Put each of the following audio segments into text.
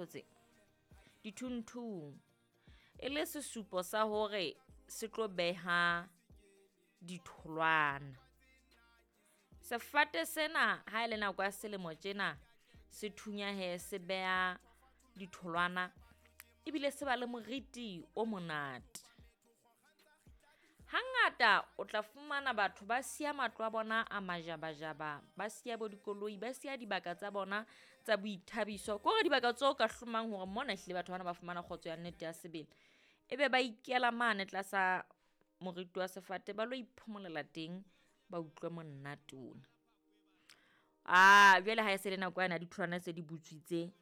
ntho tse dithunthung e le sesupo sa hore se tlo beha ditholwana. Sefate sena ha e le nako ya selemo tjena se thunya he se beha ditholwana ebile se ba le moriti o monate. Hangata o tla fumana batho ba siya matlo a bona a majabajaba, ba siya bo dikoloi, ba siya dibaka tsa bona tsa boithabiso. Ke hore dibaka tseo ka hlomang hore mona ehlile batho bana ba fumana kgotso ya nnete ya sebele. Ebe ba ikela mane tlasa moriti wa sefate ba lo iphomolela teng, ba utlwe monate ona. Jwale ha e se le nako yane ya ditholwana se di butswitse,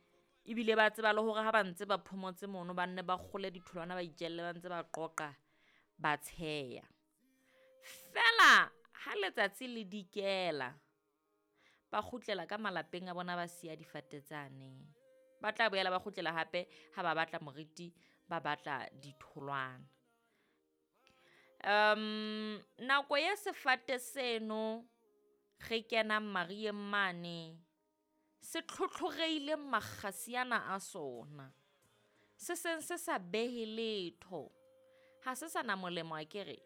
ebile ba tseba le hore ha ba ntse ba phomotse mono, ba nne ba kgole ditholwana, ba itjelle ba ntse ba qoqa, ba tsheya. Feela ha letsatsi le dikela, ba kgutlela ka malapeng a bona, ba siya difate tsane. Ba tla boela ba kgutlela hape ha ba batla moriti, ba batla ditholwana. Nako ya sefate seno re kenang mariyeng mane, se tlhotlhorehile makgasi ana a sona. Se seng se sa behe letho, ha se sana molemo akere.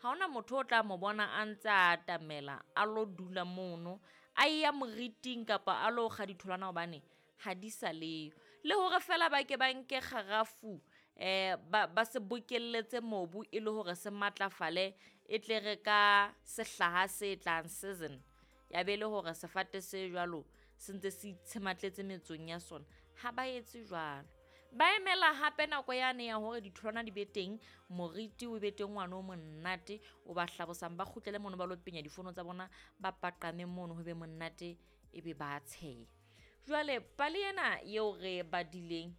Ha hona motho o tla mo bona a ntse a atamela a lo dula mono, a ya moriting kapa a lo kga ditholwana hobane ha di sa leyo. Le hore feela ba ke ba nke kgarafu ba se bokelletse mobu e le hore se matlafale, e tle re ka sehlaha se tlang season ya be le hore sefate se jwalo se ntse se itshematletse metsong ya sona. Ha ba etse jwalo, ba emela hape nako yane ya hore ditholwana di be teng, moriti o be teng ngwana o monate o ba hlabosang, ba kgutlele mono ba lo penya difono tsa bona, ba paqame mono ho be monate ebe ba tsheya. Jwale pale ena eo re badileng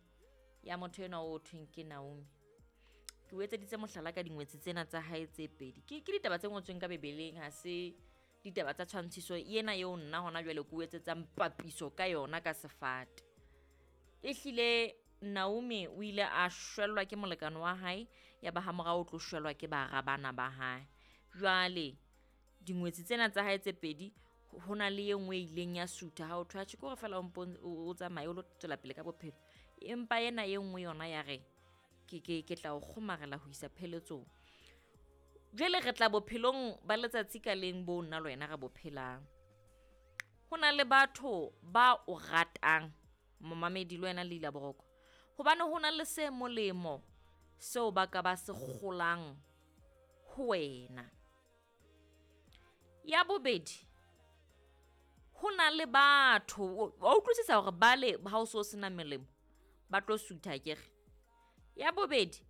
ya motho enwa o thweng ke Naomi, ke o etseditse mohlala ka dingwetsi tsena tsa hae tse pedi. Ke ditaba tse ngotsweng ka Bebeleng, ha se ditaba tsa tshwantshiso ena eo nna hona jwale ke o etsetsang papiso ka yona ka sefate. Ehlile Naomi o ile a shwellwa ke molekane wa hae, ya ba ha morao o tlo shwellwa ke bara bana ba hae. Jwale dingwetsi tsena tsa hae tse pedi, ho na le e nngwe e ileng ya sutha ha o thwe, atjhe ke hore feela o mpo o tsamaye o lo tswela pele ka bophelo. Empa ena e nngwe yona ya re, ke tla o kgomarela ho isa pheletsong. Jwale re tla bophelong ba letsatsi ka leng bo nna le wena re bo phelang. Ho na le batho ba o ratang, momamedi le wena Leila Boroko, hobane ho na le se molemo seo ba ka ba se kgolang ho wena. Ya bobedi, ho na le batho wa utlwisisa hore bale ha o so sena melemo ba tlo sutha akere. Ya bobedi,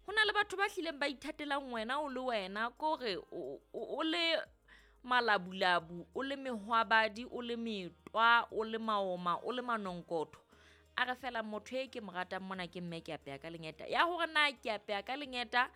ho na le batho ba hlileng ba ithatelang wena o le wena, kore o le malabulabu, o le mehwabadi, o le metwa, o le maoma, o le manonkotho. A re fela motho e ke mo ratang mona ke mme ke apeya ka lengeta. Ya hore na ke apeya ka lengeta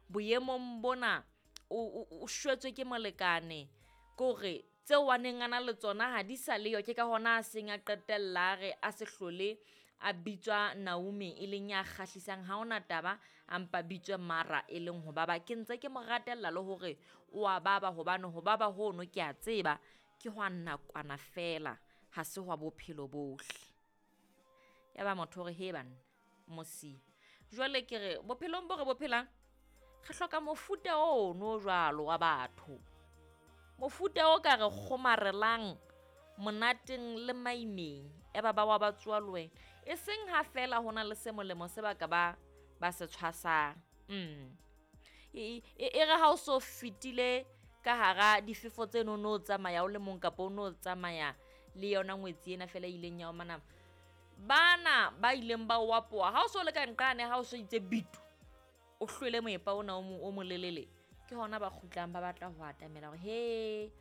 boemong bona o shwetswe ke molekane, kore tseo a neng a na le tsona ha di sa leyo, ke ka hona a seng a qetella a re a se hlole a bitswa Naomi e leng ya kgahlisang, ha hona taba a mpa bitswe Mara e leng ho baba. Ke ntse ke mo ratella le hore o a baba, hobane ho baba hono ke a tseba ke hwa nakwana fela, ha se hwa bophelo bohle. Ya ba motho hore he banna mosi. Jwale ke re bophelong bo re bo phelang re hloka mofuta ono jwalo wa batho, mofuta o ka re kgomarelang monateng le maimeng, e ba ba wa ba tsoa le wena, e seng ha fela ho na le se molemo se ba ka ba se tshwasang. E re ha o so fetile ka hara difefo tseno no tsamaya o le mong kapa o no tsamaya le yona ngwetsi ena fela e ileng ya o manama, bana ba ileng ba o apoha ha o so le ka nqane, ha o so itse bitu o hlwele moepa ona o molelele, ke hona ba kgutlang ba batla ho atamela hore he,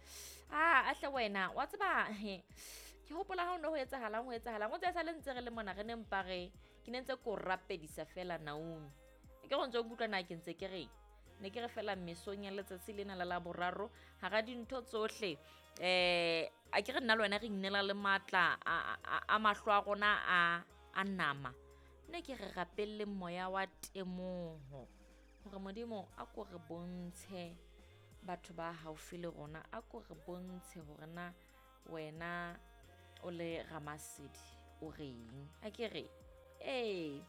a hle wena wa tseba, he ke hopola ha o ne ho etsahalang, ho etsahalang, o tse sa le ntse re le mona re ne mpa re, ke ne ntse ko rapedisa fela Naomi. Ke go ntse o nkutlwa na ke ntse ke reng, ne ke re fela mesong ya letsatsi lena la Laboraro hara dintho tsohle, a ke re nna le wena re inela le matla a mahlo a rona a nama, ne ke re rapelle moya wa temoho hore Modimo a ko re bontshe batho ba haufi le rona, a ko re bontshe hore na wena o le Ramasedi o reng. A ke re Ee,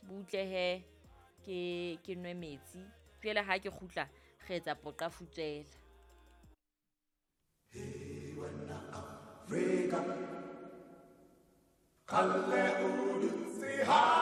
butle he ke ke nwe metsi jwale ha ke kgutla re etsa poqa futswela. Afrika, Kgale o dutse ha.